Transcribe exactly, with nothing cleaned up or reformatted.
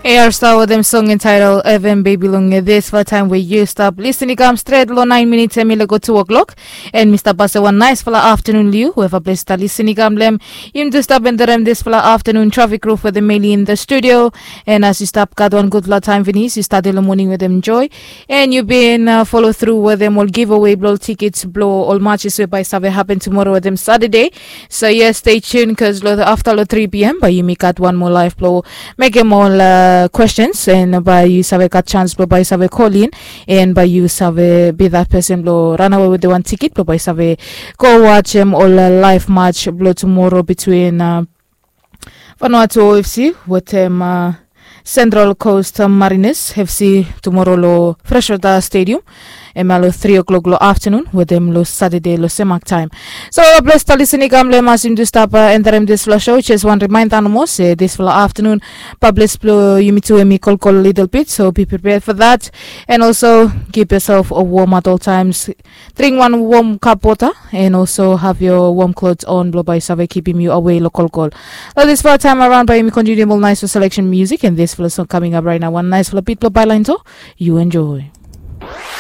Air Star wetem song entitled Heaven Baby long dispela taim we yu stap lisin i kam stret long nine minutes em i lego two o'clock. And mi stap pase wan naispela afternoon liu weva ples stap lisin i kam lem. Yumi tu stap enterem dispela afternoon traffic roof wetem Meli in the studio. And as yu stap gat wan gutpela taim finis yu start long morning wetem joy. And yu bin uh, follow through wetem ol giveaway blo ol tickets blo ol matches we bai save happen tomorrow wetem Saturday. So yes, stay tuned because after lo three p.m. bai yumi gat one more live blo mekem ol uh, questions and bai yu save gat chance blo bai save call in. And bai yu save be that person blo run away with the one ticket blo bai save go watch em ol uh, live match blo tomorrow between uh, Vanuatu O F C wetem uh, Central Coast Mariners F C tomorrow lo Freshwater Stadium. Em ya lo three o'clock lo afternoon wetem lo Saturday lo semak taim. So ples talisin i kam lo em as yumi tu stap uh, enterem dispela show. Just wan reminder nomo se dispela afternoon pablis blo yumi tu em i kolkol little bit, so be prepared for that. And also keep yourself a warm at all times. Drink one warm cup water and also have your warm clothes on blo bai save kipim yu away lo kolkol. Lo dispela taim around bai yumi continue ol nice selection music and dispela song coming up right now. One nice bit blo Bailain, so you enjoy.